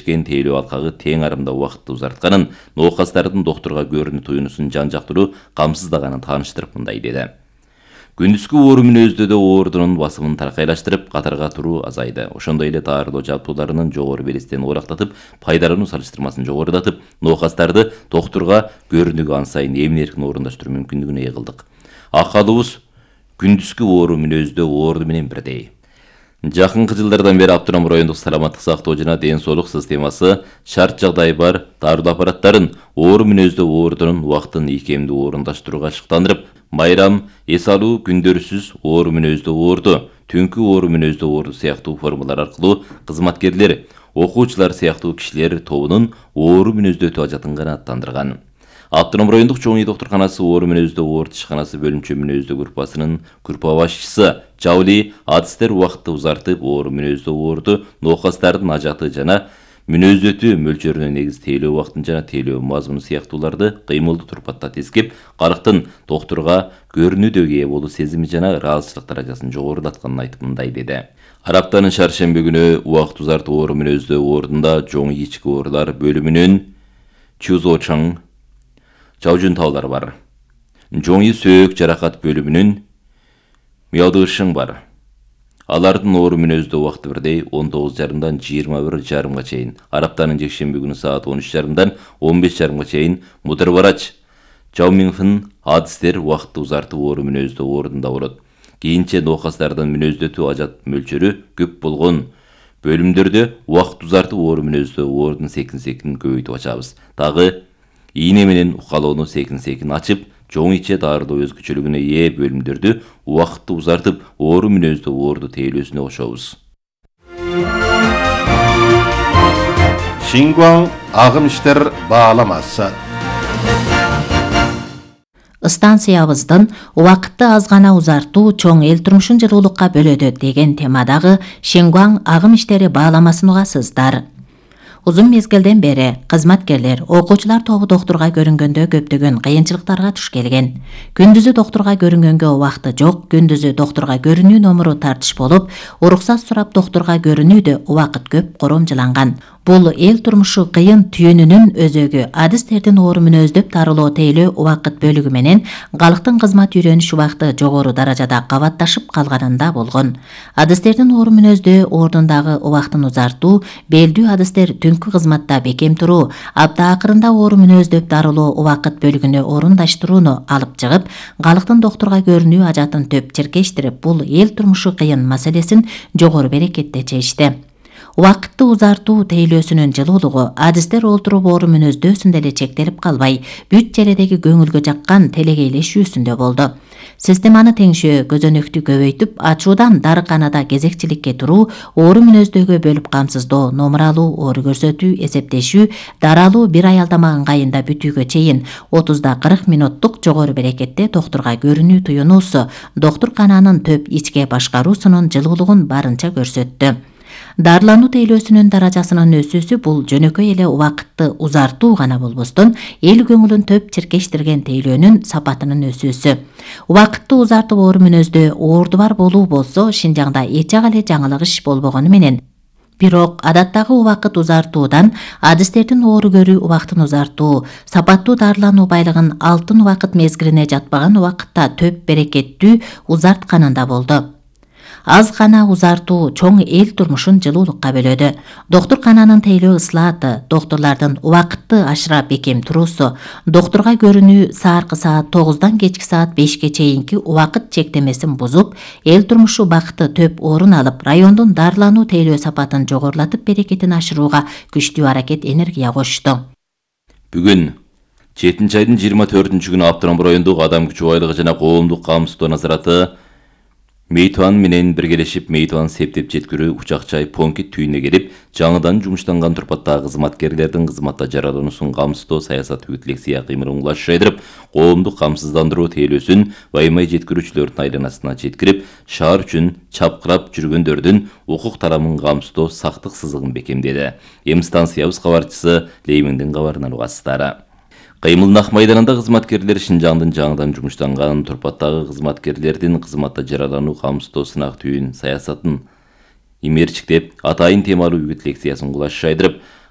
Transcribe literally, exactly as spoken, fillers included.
бирлешкен тейлөө алкагы тең арымда убакытты узартканын, ноокастардын доктурга көрүнүү туюнусун жан-жактуу камсыздаганын тааныштырып мындай деди. Күндүзгү оору мүнөздүүдө оордунун басымын таркайлаштырып, катарга туруу азайды. Ошондой эле таарылоо жабдууларынын жогору белестен оорактатып, пайдалануу салыштырмасын жогорудатып, ноокастарды доктурга көрүнүүгө ан сайын эмин-эркин орундаштыруу мүмкүндүгүнө ээ кылдык. Акалыбыз күндүзгү оору мүнөздө оорду менен бирдей. Жакынкы жылдардан бери Автономдук райондук саламаттык сактоо жана ден соолук системасы шарт жагдай бар дарылуу аппараттарын оору мүнөздө оордунун убактын ийкемдүү орундаштырууга шыктандырып, майрам, эс алуу, күндөрсүз оору мүнөздө оорду, түнкү оору мүнөздө оорду сыяктуу формалар аркылуу кызматкерлер, окуучулар сыяктуу кишилер тобунун оору мүнөздө өтүп ажатын канааттандырган. Автономдук райондук чоң үй доктурканасы оору мүнөздө оорду ишканасы бөлүмчө мүнөздө группасынын группа башчысы Жаули адистер убакытты узартып, оору мүнөздө оорду ноокастардын ажаты жана мүнөздөтүү мөлчөрүнө негиз тейлөө убактын жана тейлөө мазмуну сыяктууларды кыймылдуу турпатта тескеп, калктын доктурга көрүнүүдөгү ээ болуу сезими жана ыраазычылык даражасын жогорулатканын айтып мындай деди. Араптанын шаршемби күнү убакыт узартып оору мүнөздө оордунда чоң ички оорулар бөлүмүнүн Чузочаң Чаужун таулары бар. Жоңи сөөк жаракат бөлүмүнүн Миядышың бар. Алардын оору мүнөздө убакыты бирдей он тогуз жарымдан жыйырма бир жарымга чейин, араптанын жекшемби күнү саат он үч жарымдан он беш жарымга чейин Мудырбарач, Жаумиңфын адистер убакытты узартып оору мүнөздө оордунда болот. Кийинче ноокастардын мүнөздөтүү ажат мөлчөрү көп болгон бөлүмдөрдө убакыт узартып оору мүнөздө оордун секин-секин көбөйтүп ачабыз. Дагы ийне менен укалоону секин-секин ачып, чоң иче дарылоо өзгөчөлүгүнө ээ бөлүмдөрдү убакытты узартып, оору мүнөздө оорду тейлөөсүнө кошобуз. Шингуаң агым иштер бааламасы. Станциябыздын убакытты аз гана узартуу чоң эл турмушун жылуулукка бөлөдү деген темадагы Шингуаң агым иштери бааламасын угасыздар. Узун мезгилден бери кызматкерлер, окуучулар тобу доктурга көрүнгөндө көптөгөн кыйынчылыктарга туш келген. Күндүзү доктурга көрүнгөнгө убакыты жок, күндүзү доктурга көрүнүү номуру тартыш болуп, уруксат сурап доктурга көрүнүүдө убакыт көп коромжуланган. Бул эл турмушу кыйын түйүнүнүн өзөгү. Адистердин оору мүнөздөп дарылоо тейлөө убакыт бөлүгү менен калктын кызмат үйрөнүш убакыты жогору даражада кабатташып калганында болгон. Адистердин оору мүнөздө оордундагы убактын узартуу, белдүү адистер түнкү кызматта бекем туруу, апта акырында оору мүнөздөп дарылоо убакыт бөлүгүнө орундаштырууну алып чыгып, калктын доктурга көрүнүү ажатын төп черкештирип, бул эл турмушу кыйын маселесин жогору берекетте чечти. Убакытты узартуу тейлөөсүнүн жылуулугу адистер олтуруп оору мүнөздөөсүндө эле чектелип калбай, бүт жередеги көңүлгө жаккан телегейлешүүсүндө болду. Системаны теңшөө, көзөнөктү көбөйтүп, ачуудан дарыканада кезекчиликке туруу, оору мүнөздөгө бөлүп камсыздоо, номур алуу, оору көрсөтүү, эсептешүү, даралуу бир ай алдама ыңгайында бүтүүгө чейин отузда кырк минуттук жогору берекетте доктурга көрүнүү туюнуусу доктуркананын төп ичке башкаруусунун жылуулугун барынча көрсөттү. Дарылануу тейлөөсүнүн даражасынын өсүүсү бул жөнөкөй эле убакытты узартуу гана болбостон, эл көңүлүн төп черкештирген тейлөөнүн сапатынын өсүүсү. Убакытты узартып оору мүнөздө оорду бар болуу болсо, Шинжаңда эч ак эле жаңылык иш болбогону менен, бирок адаттагы убакыт узартуудан адистердин оору көрүү убактын узартуу, сапаттуу дарылануу байлыгын алтын убакыт мезгилине жатпаган убакытта төп берекеттүү узартканында болду. Аз гана узартуу чоң эл турмушун жылуулукка бөлөдү. Доктуркананын тейлөө ыслааты, доктурлардын убакытты ашыра бекем туруусу, доктурга көрүнүү сааркы саат тогуздан кечки саат бешке чейинки убакыт чектемесин бузуп, эл турмушу бакыты төп орун алып, райондун дарылануу тейлөө сапатын жогорулатып, берекетин ашырууга күчтүү аракет энергия кошту. Бүгүн жетинчи айдын жыйырма төртүнчү күнү Автономдук райондук адам күчү байлыгы жана коомдук камсыздоо назараты Мейтуан менен биргелешип Мейтуан септеп жеткирүү учак-чай Понкит түйүнүнө келип, жаңыдан жумуштанган турпаттагы кызматкерлердин кызматта жаралуусун камсыздоо саясат лекция кыймылын улаш жайдырып, коомдук камсыздандыруу тейлөөсүн баймай жеткирүүчүлөрдүн айланасына жеткирип, шаар үчүн чапкырап жүргөндөрдүн укук тарамын камсыздоо сактык сызыгын бекемдеди. Эми станциябыз кабарчысы Леймиңдин кабарынан угасыздар. Кыймылнак майданында кызматкерлер Шинжаңдын жаңыдан жумуштанган турпаттагы кызматкерлердин кызматта жаралануу камсыздоо сынак түйүн саясатын имерчиктеп, атайын темалуу үгүт лекциясын кулаш жайдырып,